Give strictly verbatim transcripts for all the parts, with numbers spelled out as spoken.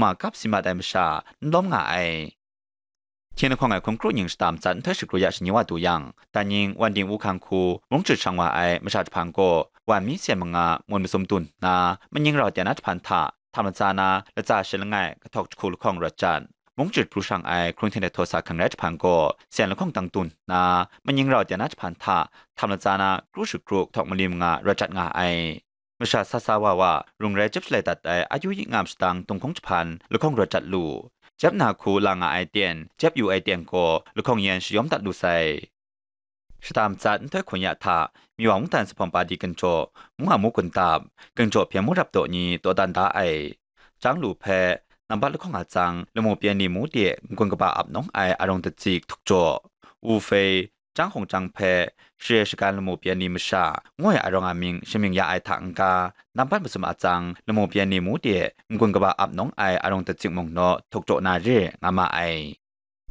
ma kap si mat ai masha n lawm nga ai. Hkying lahkawng ai hkun kru nying shata matsat nhtoi shakru ya shani wa du yang, dan nying wan ding wu hkang hku mung jut shang wa ai masha jahpang gaw, wan mi sen manga mun masum dun nna, manying rau tya na jahpan hta htam latsa na latsa shi langai kahtawk jahku lahkawng rawt jat. Mung jut pru shang ai hkrung hten ai htaw sa hkang rai jahpan gaw, sen lahkawng dang dun nna, manying rau tya na jahpan hta htam latsa na kru shakru kahtawk mali manga rawt jat nga ai. Masha sa sa wa wa, rung rai jep shalai dat ai a yu yi ngam shadang dunghkung jahpan lahkawng rawt jat lu. Jep na hku la nga ai ten, jep yu ai ten gaw lahkawng yan shayawm dat lu sai. Shata matsat nhtoi hkun ya hta, Miwa mungdan Zuphpawng Padi Ginjaw, Mung Amu Gundap, Ginjaw Hpyen Mung Rap Daw ni dawdan da ai. Jang lu hpe, nambat lahkawng a tsang, lamu pyen ni mu de n-gun kaba ap nawng ai arung datsi htuk jaw, Wu Fei, Jang Hkung Jang hpe, Share Shagan lamu pyen ni masha, ngu ai arung a mying shamying ya ai hta n-ga, nambat masum a tsang, lamu pyen ni mu de n-gun kaba ap nawng ai arung datsi mung naw htuk jaw na re nga ma ai.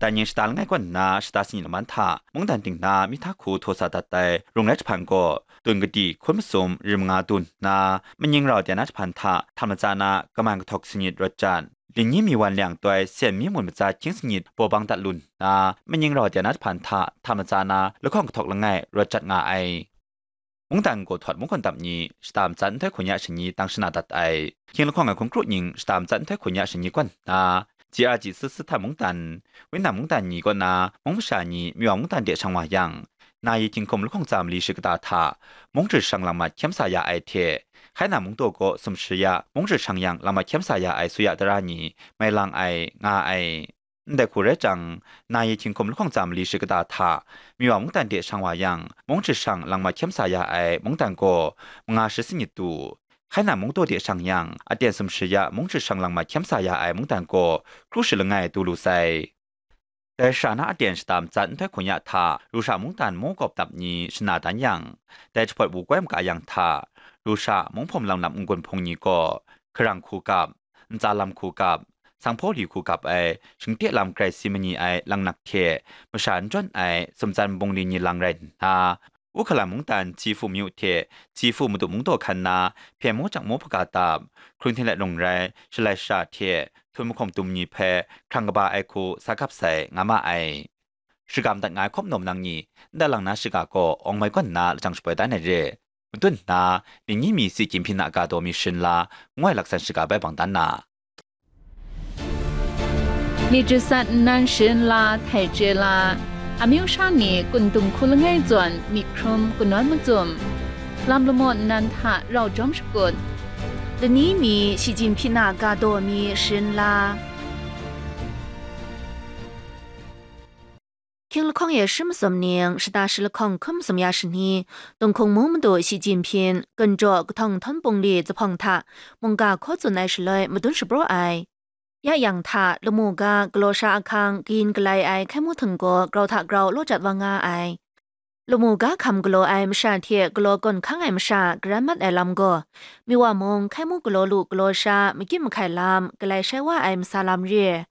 Dan nying shata langai kaw nna shata sanit laman hta mungdan ting na myi hta hku htaw sa dat ai rung rai jahpan gaw, tun kadi hkun masum rim nga dun nna, manying rau tya na jahpan hta htam latsa na kaman kahtawk sanit rawt jat. Linyi mi wan liang toi sen mi mun matsa hkying sanit baw bang dat lu nna, manying rau tya na jahpan hta htam latsa na lahkawng kahtawk langai rawt jat nga ai. Mungdan Gaw Htawt Mung Hkun Dap ni shata matsat nhtoi hkun ya shani tang shana dat ai. Hkying lahkawng ai hkun kru nying shata matsat nhtoi hkun ya shani kaw nna, G R G S S Htan Mungdan, Windan Mungdan ni kaw na mung masha ni Miwa mungdan de shang wa yang, Nayi Hkying Hkum lahkawng tsa mali shakata hta mung jut shang lang mat hkyem sa ya ai hte, Hkaina Mungdaw gaw sumshi ya mung jut shang yang lang mat hkyem sa ya ai suya tara ni mai lang ai, nga ai. Ndai hku rai jang, Nayi Hkying Hkum lahkawng tsa mali shakata hta Miwa mungdan de shang wa yang, mung jut shang lang mat hkyem sa ya ai mungdan gaw manga shi sanit du. Hkaina Mungdaw de shang yang, aten sumshi ya mung jut shang lang mat hkyem sa ya ai mungdan gaw kru shi langai du lu sai. Dai shara na aten shata matsat nhtoi hkun ya hta, Lusha mungdan Mung Gawp Dap ni shana dan yang, dai jahpawt wu koi maga yang hta, Lusha Mung Hpawm Lang Nap n-gun hpung ni gaw, Hkarang Hku Gap, Ntsa Lam Hku Gap, Sanghpaw Li Hku Gap ai, shingte lam grai si mani ai langnak hte masha n jawn ai sumtsan bungli ni lang rai nna, Wuhkalan mungdan Hcifu Myu hte Hcifu Madu Mungdaw hkan na Hpyen Mung Jang Mung Hpaga Dap, Hkrung Hten Let Rung Rai, Shalai Sha hte Htum Mahkawng Dum ni hpe hkrang kaba ai hku sa gap sai nga ma ai. Shiga madat nga ai hkawm nawm nang ni, ndai lang na shiga gaw Awng Mai Gawn na lajang shapoi dan ai re. Madun nna, Linyi Mi Si Jinghpin a ga daw mi sharin la, ngu ai laksan shiga bai bang dan na. Myit jasat nnan sharin la htai chye la, amyu sha ni kun dung hku langai zawn myit hkrum kanawn macum, lam lamaw nnan hta rau jawm shakut, Linyi Mi Si Jinghpin a ga daw mi sharin la. Hkying lahkawng e shi masum ning, shata shi lahkawng hkun masum ya shani, Dunghkung Mung Madu Si Jinghpin, Ginjaw Kahtawng Htawn Bungli Zuphpawng hta mungga hkaw tsun ai shaloi madun shapraw ai. Ya yang hta, lamu ga galaw sha ahkang kayin galai ai hkai mu htinggaw grau hta grau law jat wa nga ai. Lamu ga hkam galaw ai masha hte galaw gawn hkang ai masha garan mat ai lam gaw, Miwa mung hkai mu galaw lu galaw sha makyit mahkai lam galai shai wa ai masa lam re.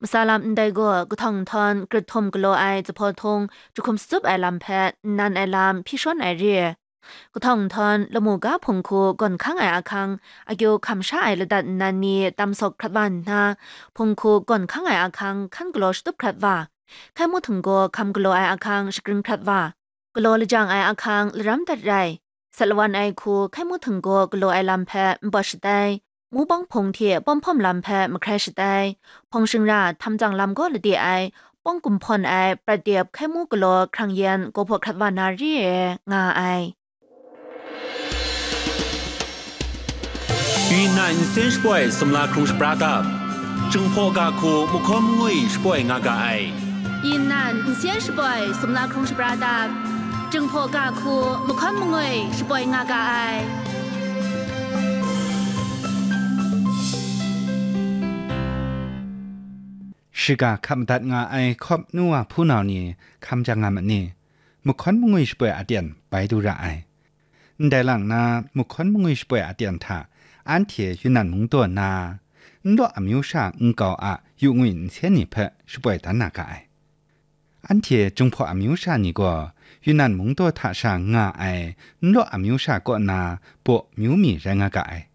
Masa lam ndai gaw, kahtawng nhtawm grit htum galaw ai zuphpawt htung jahkum sutsup ai lam hpe nnan ai lam hpyi shawn ai re. Kahtawng nhtawm lamu ga hpung hku gawn hkang ai ahkang, akyu hkam sha ai ladat nnan ni tam sawk hkrat wa nna, hpung hku gawn hkang ai ahkang hkan galaw shatup hkrat wa, hkai mu htinggaw hkam galaw ai ahkang shagrin hkrat wa, galaw lajang ai ahkang laram dat rai, sat lawan ai hku hkai mu htinggaw galaw ai lam hpe npawt shatai, mu bawng hpung hte pawm hpawm lam hpe mahkrai shatai, hpawng shingra htam tsang lam gaw lade ai, pawng gumhpawn ai prat dep hkai mu galaw hkrang yan gaw hpaw hkrat wa na re ai, nga ai. 云南 nsen shapoi sumla hkrung shapra dap, Jinghpaw ga hku mahkawn mangwi shapoi nga ga ai. 云南 nsen shapoi sumla hkrung shapra dap, Jinghpaw ga hku mahkawn mangwi shapoi nga ga ai. Shiga hkap madat nga ai hkawp nu wa hpunau ni hkam jang nga ma ni? Mahkawn mangwi shapoi aten bai du ra ai. Ndai lang na, mahkawn mangwi shapoi aten hta anhte Yunnan mungdaw na, nlaw amyu sha nkau a yu ngwi nsen ni hpe shapoi dan na ga ai. Anhte Jinghpaw amyu sha ni gaw Yunnan mungdaw hta sha nga ai nlaw amyu sha kaw na baw myu mi rai nga ga ai.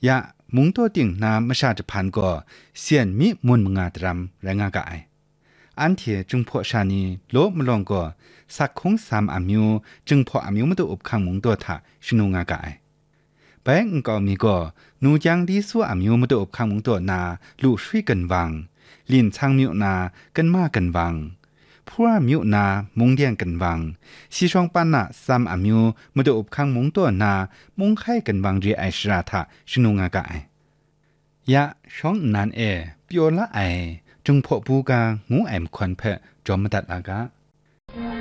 Ya, Mungdaw ting na masha jahpan gaw Syen mi mun manga daram rai nga ga ai. Anhte Jinghpaw sha ni law malawng gaw sak hkung sam amyu, Jinghpaw amyu madu up hkang mungdaw hta shanu nga ga ai. Bai nkau mi gaw, nu jang li su amyu madu up hkang mungdaw na lu shui ginwang, lin sang myu na ginma ginwang, hpura myu na mungden ginwang, si shawng pan na tsam amyu madu up hkang mungdaw na munghkai ginwang re ai shara hta shanu nga ga ai. Ya, shawng nnan e pyaw la ai Jinghpaw bu ga ngu ai mahkawn hpe jawm madat la ga.